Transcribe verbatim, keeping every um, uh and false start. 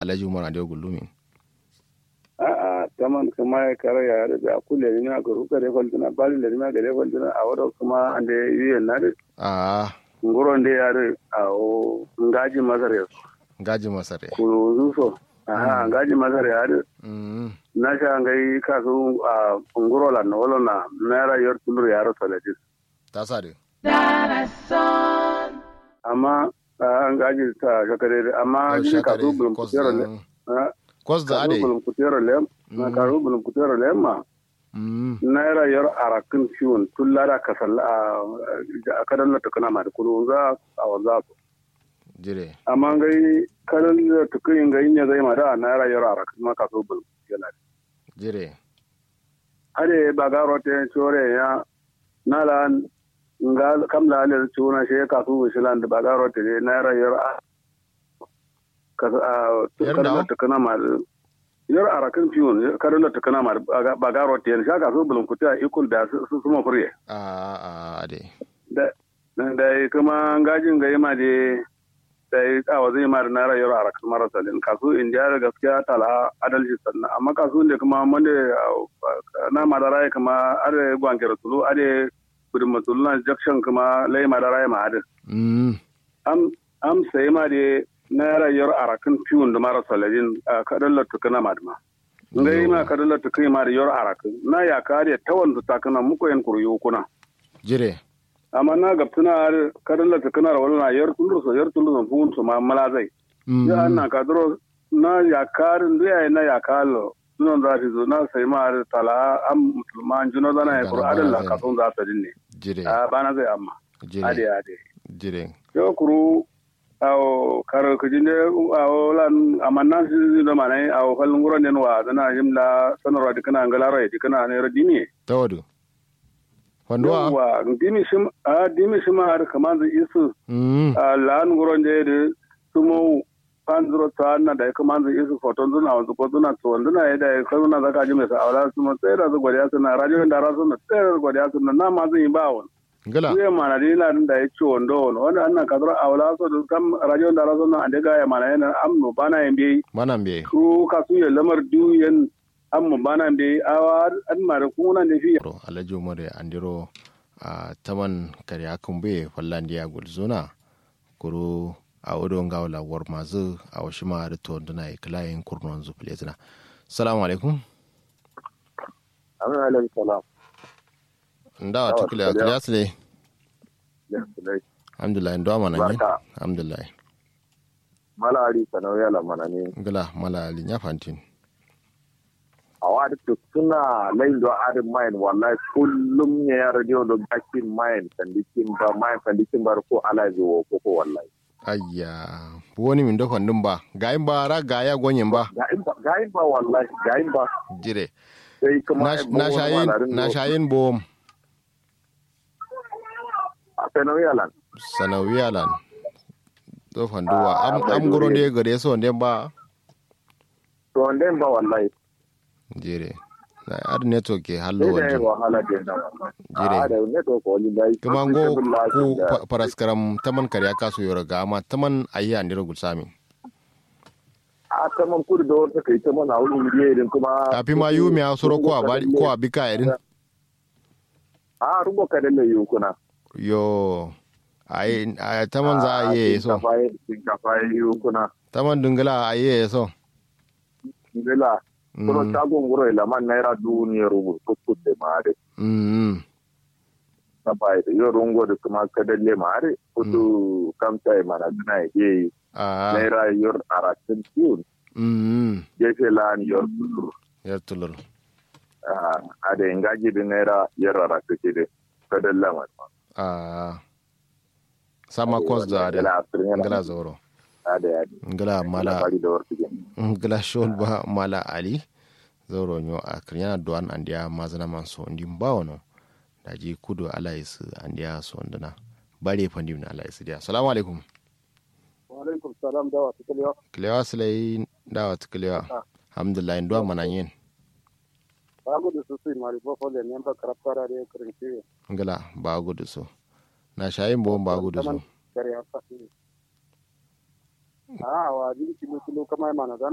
Alhaji umar ande gullumin. A'a taman kǝma ye kare yayi adǝ biya ku lenimiya kuru gade faltǝna bari lenimiya gade faltǝna awo do kǝma ande yuyen na dǝ. A'a. Nguro nde yayi adǝ. Awo ngaji masar ye so. Ngaji masar ye. Kurunzu so. Aha ngaji masar yayi adǝ. Nasha ngai kasu. Nguro lan wolo na naira yor tulur yaro saladin. Tasa dǝ. Amma a ngaji ta shakare dǝ amma jiri kasu bulum kutero le. Kwas da ade. Bulum kutero le. Kasu bulum kutero le ma. Naira yor arakkǝn fiwun tulla da kasal. Kadalla tukǝna ma dǝ kulu za a wanza so. Jire. Amma ngai kadalla tukǝn ngai ne zai ma da naira yor arakkǝn ma kasu bulum kutero le. Jire. Ade bagaro te shore ya. Na lan nga kam la le cuna she kasu shilan da bagaro te naira yor a. Kasu a tukana tukana ma. Yor arakkǝn fiwun kadalla tukana ma. Bagaro te sha kasu bulum kutero ikul da su suma fure. A a ade. Dai kǝma ngajin ngai ma dai. Dai awo zai ma dai naira yor arakkǝn mara salin kasu indiya da gaskiya tala adalci sanna amma kasu nde kǝma mande. Na madara ye kǝma ade gwangero tulu ade. Budin matulu na jakshon kǝma lai madara ye ma adǝ. Am sai ma dai naira yor arakkǝn fiwun dǝ mara saladin. Kadalla tukǝna ma dǝ ma. Ngai ma kadalla tukǝn ma dǝ yor arakkǝn na yakka adǝ ye tawon dǝ takǝna muko yen kuru yukuna. Jire. Amma na gabtǝna adǝ kadalla tukǝna ro wala na yor tulur so yor tulur so fuwun so ma mala zai. Yo anna kaduro na yakka adǝ ndu yayi na yakka allo. Dunon za fizu na sai ma adǝ tala am musulma njuno zana ye kuru adalla kasun za sadin ne. Jire. A bana zai amma. Jire. Ade ade. Jire. Yo kuru. Awo karo kǝjin de awo lan amma nan si do manai awo fal nguron den wa zana yim la sanarwa dikana ngalaro ye dikana ne ro dimi ye. Tawadu. Fanduwa. Yawwa dimi shim a dimi shima har kamanzu isu. A lan nguron de de sumo. Fanzuro tsanna da kamanzu isu foton zuna wanzu ko zuna tsuwan zuna ye da ya karuna zaka jime sa awala sumo sai da zu godiya suna radio da rasu na sai da godiya suna na manzu yin ba wani. Ngla. Kuye mana dǝ ina dǝn dayi ciwo ndo wono wanda annan kaduro awla so dǝ kam radio ndara so no ande gaya mana yena am no bana ye mbeyi. Bana mbeyi. Kuru kasu ye lamar diwu yen. Am no bana mbeyi awa adǝ mare kunguna nde fiya. Alhaji umar ye andiro. Taman kare akǝn buye falla ndiya gulzuna. Kuru awo do ngawo la warmazǝ. Awo shima adǝ tonduna ye kǝla yen kurnonzǝ fǝlezǝna. Salamu alaikum. Amin alaikum salam. Ndawa tuklewa kǝliya sǝle. Alhamdulillah ndo amana nyi. Alhamdulillah. Mala ali sanawiya la mana nyi. Ngla mala ali nya fantin. Awa adǝ tuktuna lai ndo adǝ mayin wallahi kullum ne ya radio do gakin mayin sandikin ba mayin sandikin ba ko alai zo ko ko wallahi. Ayya. Woni min do fandum ba gayin ba ra gaya gonyen ba. Gayin ba wallahi gayin ba. Jire. Na shayin bowom. Sanawiya lan. Sanawiya lan. Do fanduwa am guro nde gade so nde ba. To nde ba wallahi. Jire. Ar network ke hallo waljin. Jire. Kuma ngo ku paraskaram taman karya kasu yoro ga amma taman ayi andiro gulsami. A taman kudu da wata kai taman a wurin biye din kuma. Tafi ma yu mi a soro ko a bari ko a bika irin. A rubo ka dalle yu kuna. Yo. Ai taman za a yi so. Shinkafa yi yu kuna. Taman dungula a yi so. Dila. Kuno shagon guro ilaman naira dubu ne rubu kukkut da ma dai. Mm. Na bai da yo rungo da kuma ka dalle ma dai. Kudu kamta mana duna ya yi. Naira yor aratin tiyun. Mm. Gefe lan yor tulur. Yor tulur. A da ingaji da naira yor aratin tiyun. Ka dalle ma. A. Sama kos da ade. Ngla zoro. Ngla mala. Ngla shol ba mala ali. Zoro nyo a kiryana duwan andiya mazana man so ndi mbawo no. Daji kudu ala isu andiya so ndina. Bare fandi min ala isu diya. Salamu alaikum. Wa alaikum salam dawa tukalewa. Kalewa silai dawa tukalewa. Alhamdulillah nduwa mana yin. Ba gudu su su mari bofo le nemba karabta da de kirin kiwe. Ngla ba gudu su. Na shayin bo ba gudu su. A wa jin kilo kilo kama mana zana.